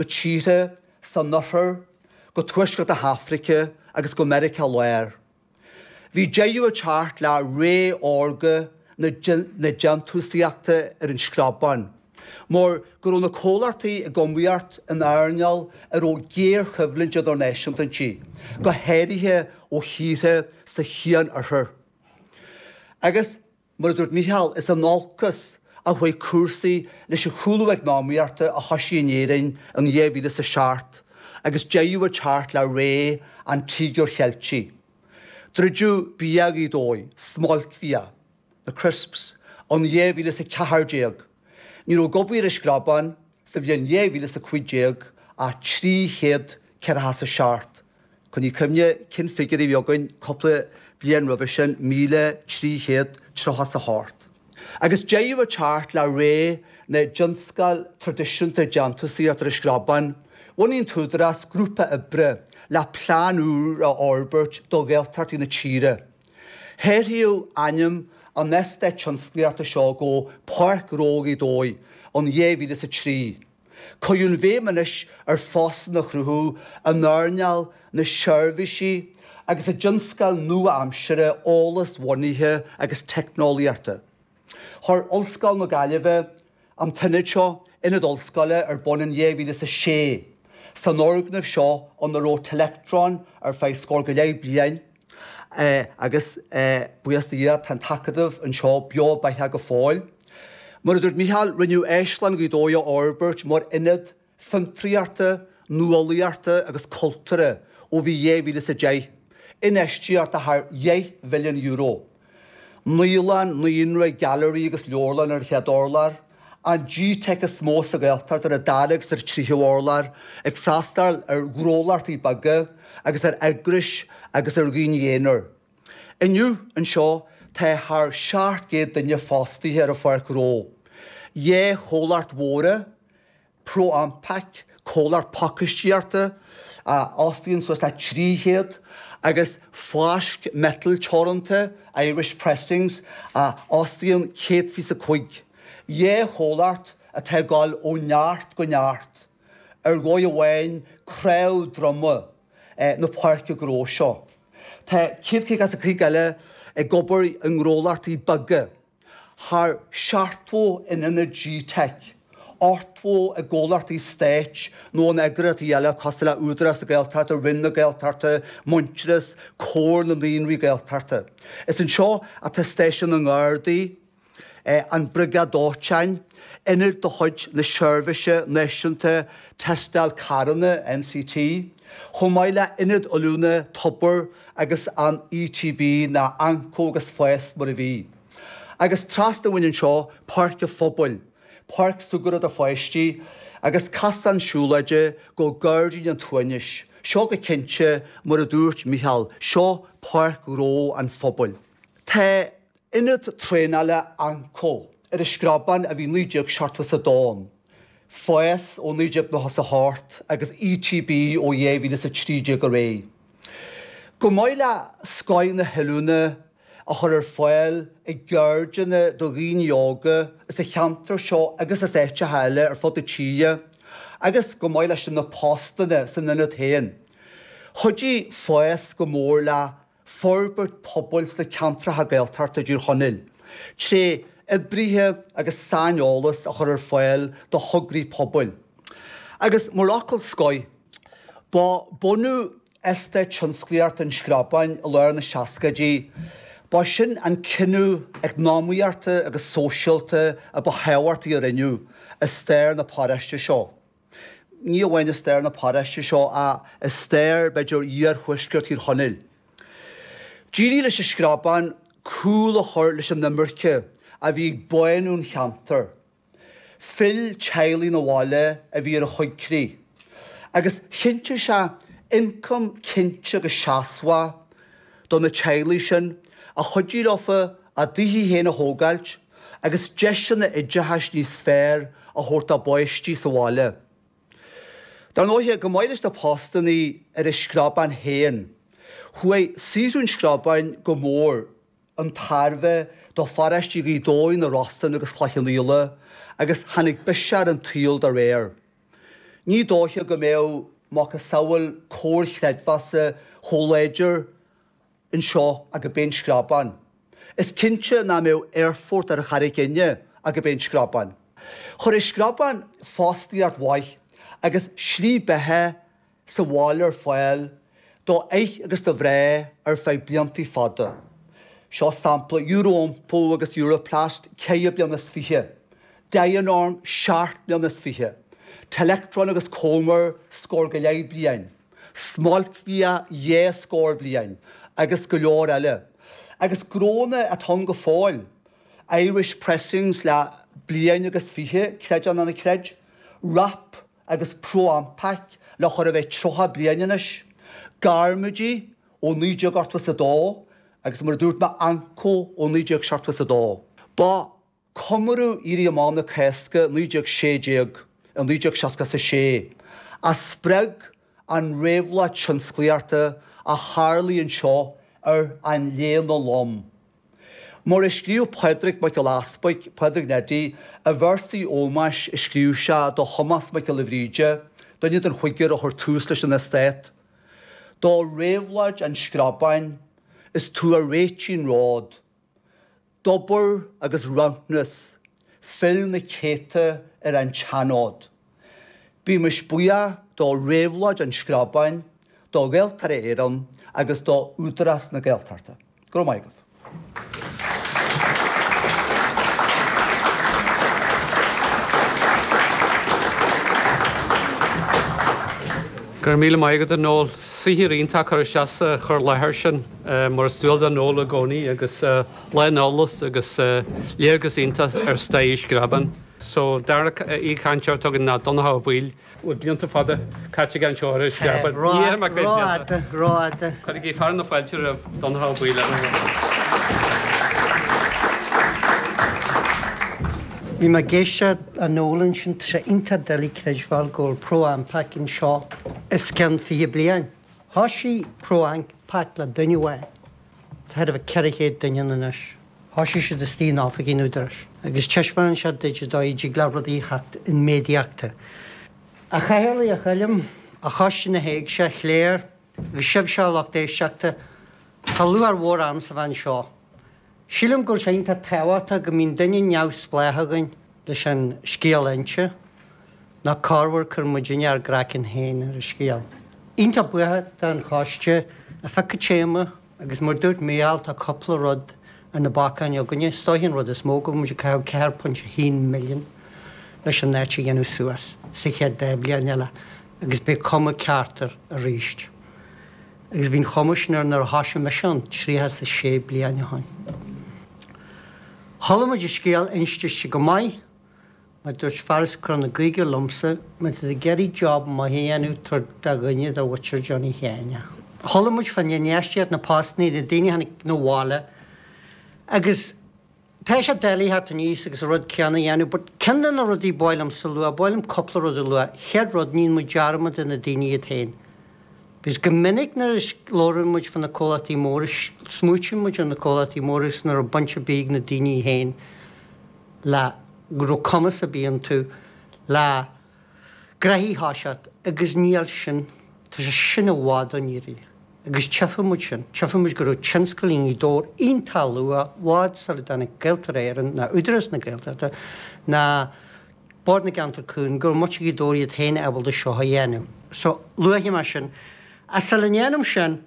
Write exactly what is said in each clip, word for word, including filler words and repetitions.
go tíortha san Oirthear, go Tuaisceart na hAfraice agus go Meiriceá Láir. Bhí deireadh ag teacht le ré órga na déantúsaíochta ar an Screabán, mar go raibh na comhlachtaí ag iomaíocht in earnáil a raibh géarchoimhlint idirnáisiúnta inti, go háirithe ó thíortha sa Chian-Oirthear. Agus, mar a dúirt Mícheál, is in olcas a chuaigh cúrsaí leis an chúlú eacnamaíochta a thosaigh in Éirinn in dhá mhíle is a seacht agus deireadh ag teacht le ré an Tíogair Cheiltigh. Druideadh Bia Ghaoth Dobhair, Smoilcbhia, na crisps, in dhá mhíle is a ceathair déag. Ní raibh ag obair ar an Screabán sa bhliain dhá mhíle is a cúig déag ach trí chéad ceathracha is a seacht. Coinnigh cuimhne cén figiúr a bhí againn cúpla bliain roimhe sin, míle trí chéad tríocha is a hocht. Agus deireadh ag teacht le ré na dtionscal traidisiúnta déantúsaíochta ar an Screabán, bhunaigh an tÚdarás grúpa oibre le plean úr a fhorbairt do Ghaeltachtaí na tíre. Hathraíodh ainm an eastáit tionsclaíochta seo go Páirc Ghnó Ghaoth Dobhair in dhá mhíle is a trí. Cuireadh an bhéim anois ar phostanna a chruthú in earnáil na seirbhísí agus i dtionscail nua-aimsire eolas-bhunaithe agus teicneolaíochta. Chuir Ollscoil na Gaillimhe an t-ionad seo, Ionad Ollscoile, ar bun in dhá mhíle is a sé, san fhoirgneamh seo ina raibh Telectron ar feadh scór go leith bliain agus buíochas do Dhia tá an t-acadamh anseo beo beathach go fóill. Mar a dúirt Mícheál, rinneadh Áislann Ghaoth Dobhair a fhorbairt mar ionad fiontraíochta, nuálaíochta agus cultúrtha ó bhí dhá mhíle is a deich, infheistíocht de thar dheich mhilliún euro. Naíolann, naíonra, gailearaí agus leabharlann ar an chéad urlár, an G-Teic is mó sa Ghaeltacht ar an dara agus ar an tríú urlár, ag freastal ar ghnólachtaí beaga agus ar eagrais agus ar dhaoine aonair. Inniu anseo tá thar seacht gcéad duine fostaithe ar an Pháirc Ghnó. Dhá chomhlacht mhóra, ProAmpac, comhlacht pacáistíochta a fhostaíonn suas le trí chéad, agus Fáisc Miotail Teoranta, Irish Pressings, a fhostaíonn céad fiche a cúig. Dhá chomhlacht atá ag dul ó neart go neart, ar dhóigh amháin cnámh droma na páirce gnó seo. Tá céad caoga is a cúig eile ag obair i ngnólachtaí beaga, thar seachtó in ionad G-Teic, ochtó i gcomhlachtaí stáit nó in eagraíochtaí eile cosúil le Údarás na Gaeltachta, Roinn na Gaeltachta, Muintearas, Comhar na Naíonraí Gaeltachta. Is anseo atá Stáisiún na nGardaí, an Briogáid Dóiteáin, ionad de chuid na Seirbhíse Náisiúnta Tástáil Carranna, NCT, chomh maith le hIonad Oiliúna Tobar agus an ETB nó Anco agus Fás mar a bhí. Agus trasna uainn anseo, Páirc an Phobail, páirc súgartha do pháistí agus cosán siúlóide go Gairdín an tSuaimhnis. Seo go cinnte, mar a dúirt Mícheál, seo Páirc Ghnó an Phobail. Tá ionad traenála Anco ar an Screabán a bhí naoi déag seachtó is a dó ann, Fás ó naoi déag nócha is a hocht agus ETB ó dhá mhíle is a trí déag ar aghaidh. Chomh maith le scoth na hoiliúna a chur ar fáil i gceirdeanna do dhaoine óga sa cheantar seo agus as áiteacha eile ar fud na tíre agus chomh maith leis na postanna san ionad féin. Chuidigh Fás go mór le forbairt pobail sna ceantracha Gaeltachta i dTír Chonaill tré oibrithe agus saineolas a chur ar fáil do thograí pobail. Agus mar fhocal scoir, ba bunú Eastát Tionsclaíochta an Screabáin i lár na seascaidí, ba sin an cinneadh eacnamaíochta agus sóisialta a ba thábhachtaí a rinneadh i stair na paróiste seo. Ní amháin i stair na paróiste seo ach i stair, b'fhéidir, iarthuaisceart Thír Chonaill. D'éirigh leis an Screabán cúl a chur leis an imirce a bhí ag bánú an cheantair. Phill teaghlaigh 'na bhaile a bhí ar a choigcrích, agus chinntigh sé ioncam cinnte agus seasmhach do na teaghlaigh sin a chuidigh leofa a dtithe féin a thógáilt agus deiseanna oideachais níos fearr a thabhairt dá bpáistí sa bhaile. Dar ndóighe, chomh maith leis na postannaí ar an Screabán féin, chuaigh saothrú an Screabáin go mór chun tairbhe do pharóistí Ghaoth Dobhair, na Rosann agus Chloich Cheann Fhaola agus tháinig biseach ar an tsaol dá réir. Ní dóiche go mbeadh macasamhail comhar creidmheasa chomh láidir anseo ach gurb é an Screabán. Is cinnte nach mbeadh aerfort ar Charraig Fhinne ach gurb é an Screabán. Chuir an Screabán fostaíocht mhaith agus slí beatha sa bhaile ar fáil do fhir agus do mhná ar feadh blianta fada. Seo sampla Euro-Iompó agus Europlast ceithre bliana is fiche. Dianorm seacht mbliana is fiche. Telectron agus Comer scór go leith bliain. Smolcbhia dhá scór bliain agus go leor eile. Agus gnónna atá ann go fóill. Irish Pressings le bliain agus fiche, creid é nó ná creid. Wrap agus Pro-Ampac le chóir a bheith tríocha bliain anois. Garmaidí ó naoi déag ochtó is a dó agus mar a dúirt mé Anco ó naoi déag seachtó is a dó. Ba comóradh Éirí Amach na Cásca naoi déag sé déag i naoi déag seasca is a sé a spreag an réabhlóid tionsclaíochta a tharlaigh anseo ar an Léana Lom. Mar a scríobh Pádraig Mac Giolla Easpaig, Pádraig Neidí, i véarsaí ómóis a scríobh sé do Thomás Mac Giolla Bhríde, duine den chúigear a chuir tús leis an eastát, Do réabhlóid an Screabáin, is tú a réitigh an ród. D'obair agus rathúnas, phill na céadta ar an tseanfhód. Bímis buíoch do réabhlóid an Screabáin, do Ghaeltarra Éireann agus do Údarás na Gaeltachta. Go raibh maith agaibh. Go raibh míle maith agat, a Noel. Saothar iontach curtha isteach sa chur i láthair sin, mar is dual do Noel i gcónaí, agus lán eolas agus léargas iontach ar stair Screabán. So, dara aoichainteoir atá againn ná Donnchadh Ó Baoill. Bhfuil blianta fada caite aige anseo ar an Screabán. Ní dhéarfaidh mé cé mhéad blianta. Rófhada, rófhada. Cuirigí fearadh na fáilte roimh Donnchadh Ó Baoill. Bhí mé ag éisteacht le Noel ansin, tá sé iontach doiligh creidbheáil go bhfuil Pro-Ampac anseo os cionn fiche bliain. Thoisigh Pro-Ampac le duine amháin. Tá thar a bheith ceithre chéad duine ann anois. Thoisigh siad istigh in oifigí an Údaráis agus taispeánann sé duit an dóigh a dtig le rudaí a theacht i méadaíochta. A Chathaoirligh, a Choilm, a Choiste na hÉigse, a Chléir, agus sibhse a lucht éisteachta, tá lúcháir mhór ormsa a bheith anseo. Sílim go bhfuil sé iontach tábhachtach go mbíonn duine neamhspleách againn leis an scéal a inse, nó corruair cuireann muidinne ár gcraiceann féin ar an scéal. Iontach buíoch don choiste a phioc an téama agus mar dúirt Mícheál tá cúpla rud ar na bacáin againne. Is dóiche an rud is mó go bhfuil muid ag caitheamh ceathair pointe a haon milliún leis an áit a dhéanamh suas sa chéad dá bhliain eile agus beidh cuma ceart air arís. Agus bhí an chuma sin air nuair a thoisigh mise ann tríocha is a sé bliain ó shin. Chuala muid an scéal inste go maith, mar dúirt fear as Cora na Gaoithe liomsa, má tá tú ag iarraidh job maith a dhéanamh, tabhair do dhuine de mhuintir Johnny Sheáin é. Chuala muid fán infheistíocht, na postanna, na daoine a tháinig 'na bhaile agus Tá sé doiligh theacht aníos agus an rud céanna a dhéanamh but ceann de na rudaí ba mhaith liomsa a lua, ba mhaith liom cúpla rud a lua. Chéad rud, ní dhéanann muid dearmad de na daoine iad féin. Because go minic nuair a labhraíonn muid fá na comhlachtaí móra, smaoitíonn muid ar na comhlachtaí móra agus nach raibh baint ar bith ag na daoine féin le go raibh cumas ar bith iontu le gnoithí a thoiseacht agus níl sin, tá sé sin i bhfad ón fhírinne agus tchífidh muid sin, tchífidh muid go raibh tionscal i nGaoth Dobhair iontach luath, i bhfad sula dtáinig Gaeltarra Éireann ná Údarás na Gaeltachta ná Bord na gCeantar Cúng, go raibh muintir Ghaoth Dobhair iad féin ábalta seo a dhéanamh. So, luafaidh mé sin. Ach sula ndéanaim sin,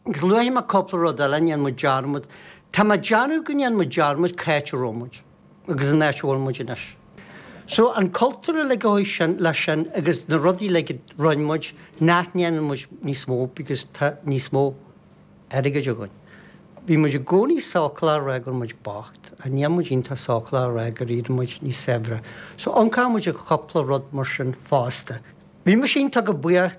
Agus luafaidh mé cúpla rud eile, an ndéanann muid dearmad. Tá mé ag déanamh go ndéanann muid dearmad cá háit a raibh muid agus an áit a bhfuil muid anois. So, an cultúr uilig a chuaigh sin leis sin agus na rudaí uilig a rinne muid nach ndéanann muid níos mó because tá níos mó airgid againn. Bhí muid i gcónaí sócúlach a rá go raibh muid bocht ach níl muid iontach sócúlach a rá gur éirigh muid níos saibhre. So, amharcann muid ar chúpla rud mar sin fosta. Bhí mise iontach go buíoch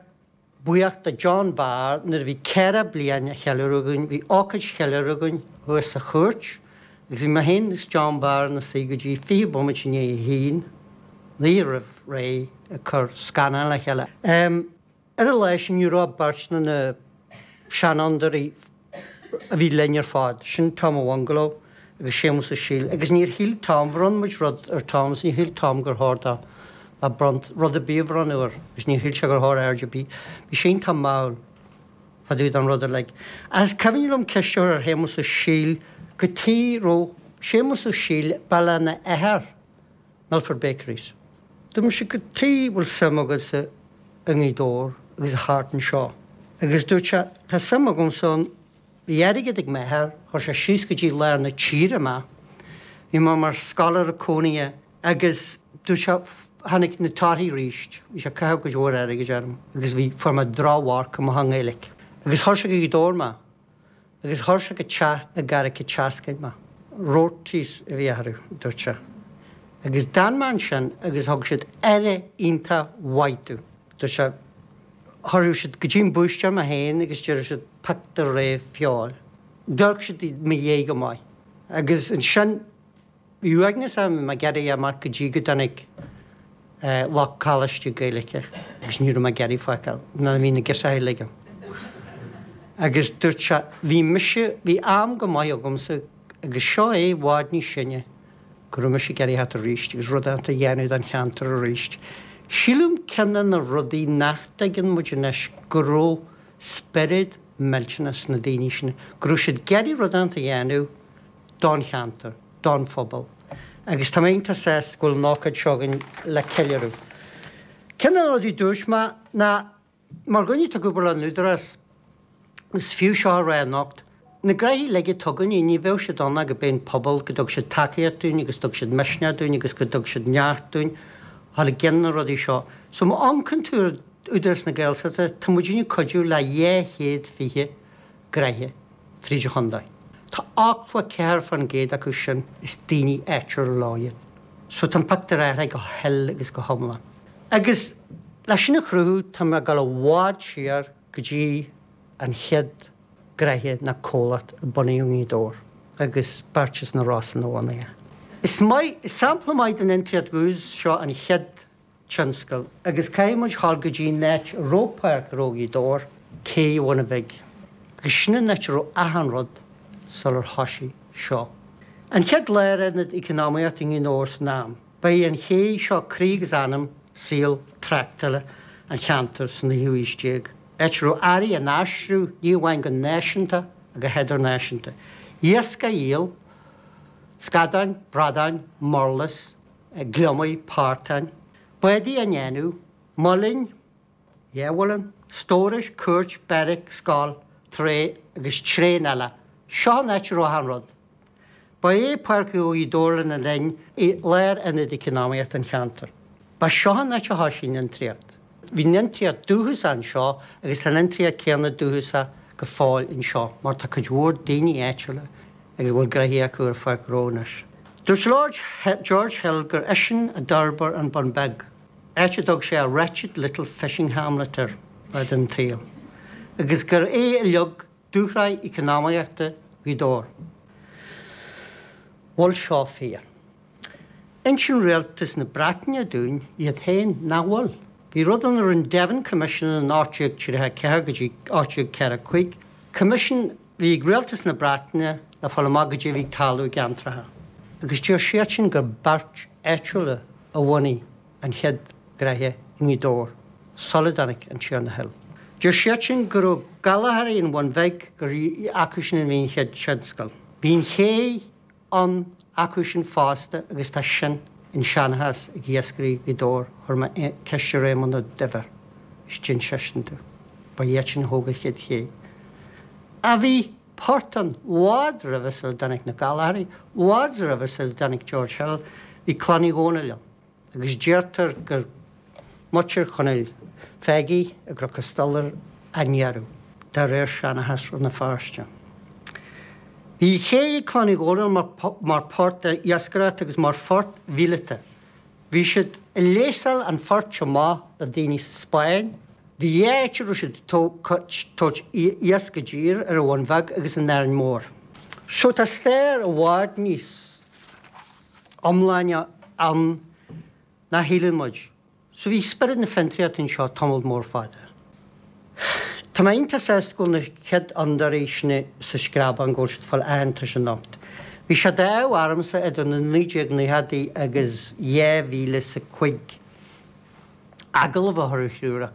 buíoch do John Barr nuair a bhí ceithre bliain á cheiliúradh againn, bhí ócáid cheiliúradh againn thuas sa chúirt agus bhí mé féin agus John Barr ina suí go dtí fiche bomaite i ndiaidh a haon, an oíche roimh ré ag cur scannán le chéile. Ar an lá sin ní raibh beirt de na seanfhondúirí a bhí linn ar fad, sin Tom a' Bhungalow agus Séamus Ó Siadhail agus níor shíl Tom, bhronn muid rud ar Tom agus níor shíl Tom gur chóir dó le bront, rud ar bith a bhronnadh air agus níor shíl sé gur chóir aird ar bith. Bhí sé iontach mall fá dtaobh den rud uilig. Is cuimhin liom ceist a chur ar Shéamus Ó Siadhail cad chuige raibh Séamus Ó Siadhail ba lena athair Milford Bakeries. Dúirt mise cad chuige bhfuil suim agatsa i nGaoth Dobhair agus thart anseo. Agus dúirt sé tá suim agamsa ann, bhí airgead ag m'athair, chuir sé síos go dtí lár na tíre mé, bhí mé mar scoláire cónaithe agus dúirt sé tháinig na torthaí arís, bhí sé ag caitheamh cuid mhór airgid orm agus bhí, fuair mé drochmharc amach i nGaeilge. Agus chuir sé go Gaoth Dobhair mé. Agus chuir sé go teach i gCarraig an tSeascainn mé. Roarty's a bhí orthu, dúirt sé. Agus d'fhan mé ansin agus thug siad aire iontach mhaith domh. Dúirt sé, chuireadh siad go dtí an búistéir mé féin agus deireadh siad pioc do rogha feoil. D'amharc siad i mo dhiaidh go maith. Agus ansin bhí uaigneas orm, bhí mé ag iarraidh amach go dtí go dtáinig lucht coláiste Gaeilge agus ní raibh mé ag iarraidh fágáil nuair a bhí na girseachaí uilig ann. Agus dúirt sé, bhí mise, bhí am go maith agamsa agus seo é i bhfad níos sine go raibh mise ag iarraidh theacht arís agus rud inteacht a dhéanamh don cheantar arís. Sílim ceann de na rudaí nach dtuigeann muid anois go raibh spiorad millteanach sna daoine sin, go raibh siad ag iarraidh rud inteacht a dhéanamh don cheantar, don phobal. Agus tá mé iontach sásta go bhfuil an ócáid seo againn le ceiliúradh. Ceann de na rudaí dúirt mé ná mar dhuine atá ag obair le an Údarás, is fiú seo a rá anocht, na gnoithí uilig atá againne, ní bheadh siad ann ach go b'é an pobal, go dtug siad tacaíocht dúinn agus dtug siad misneach dúinn agus go dtug siad neart dúinn thall i gcionn na rudaí seo. So má amharcann tú ar Údarás na Gaeltachta, tá muidinne ag cuidiú le dhá chéad fiche gnoithe fríd an chontae. Tá ochtó a ceathair fán gcéad acu sin is daoine áitiúla leo iad. So tá an pictiúr athraithe go huile agus go hiomlán. Agus leis sin a chruthú tá mé ag dul i bhfad siar go dtí an chéad gnoithe ná comhlacht a bunaíodh i nGaoth Dobhair agus beirt as na Rosann a bhunaigh é. Is maith, is sampla maith den fhiontraíocht dhúchasach seo an chéad tionscal agus caithfidh muid dhul go dtí an áit a raibh Páirc Ghnó Ghaoth Dobhair, Cé an Bhuna Bhig. Agus sin an áit a raibh achan rud sular thoisigh seo. An chéad lárionad eacnamaíochta i nGaoth Dobhair san am, ba í an ché seo croí agus anam saol tráchtála an cheantair sa naoú haois déag, áit a raibh earraí á n-aistriú ní amháin go náisiúnta ach go hidirnáisiúnta. Iasc á dhíol, scadáin, bradáin, murlas, gliomaigh, portáin, bádaí á ndéanamh, muileann, dhá mhuileann, stórais, cúirt, beairic, scoil, tré agus tréan eile. Seo an áit a raibh achan rud. Ba é Páirc Ghnó Ghaoth Dobhair lena linn i lárionad eacnamaíochta an cheantair. Ba seo an áit a thoisigh an fhiontraíocht. Bhí an fhiontraíocht dúchasach anseo agus tá an fhiontraíocht céanna dúchasach go fóill anseo mar tá cuid mhór daoine áitiúla agus a bhfuil gnoithí acu ar Pháirc Ghnó anois. Dúirt Lord George Hill gur eisean a d'fhorbair an Bun Beag, áit a dtug sé a wretched little fishing hamlet air fad an tsaoil, agus gur é a leag dúshraith eacnamaíochta Ghaoth Dobhair. Bhfuil seo fíor? Insíonn rialtas na Breataine dúinn iad féin nach bhfuil. Bhí rud ann a rinne Devon Commission in ocht déag tríocha a ceathair go dtí ocht déag ceathracha cúig, coimisiún a bhí ag rialtas na Breataine le fáil amach goidé a bhí ag tarlú i gceantracha. Agus deir siadsin gur beirt áitiúla a bhunaigh an chéad ghnoithe i nGaoth Dobhair sula dtáinig an Tiarna Hill. Deir siadsin go raibh Gallchóirí an Bhun Bhig gur acu sin a bhí an chéad tionscal. Bhí an ché ann acu sin fosta agus tá sin in seanchas ag iascairí Ghaoth Dobhair, chuir mé ceist ar Éamonn Ó Duibhir is d'inis seisean domh. Ba iad sin a thóg an chéad ché. A bhí port ann i bhfad roimhe sula dtáinig na Gallchóirí, i bhfad roimhe sula dtáinig George Hill, bhí Clann Uí Dhónaill ann. Agus deirtear gur muintir Chonaill Pheigí i gCnoc an Stolaire a ndeireadh, de réir seanchas Rann na Feirste. Bhí ché ag Clann Uí Dhónaill mar mar phort iascaireachta agus mar phort mhíleata. Bhí siad ag léasáil an phoirt amach le daoine sa Spáinn. Bhí dhá áit a raibh siad ag tabhairt iasc i dtír, ar an Bhun Bheag agus in Árainn Mhór. So tá stair i bhfad níos iomláine ann ná shíleann muid. So bhí spiorad na fiontraíochta anseo tamall mór fada. Tá mé iontach sásta go bhfuil na chéad fhondúirí sin sa Screabán, go bhfuil siad ag fáil aitheantais anocht. Bhí sé d'ádh ormsa idir na naoi déag naochadaí agus dhá mhíle is a cúig Agallamh a chur ar thriúr acu.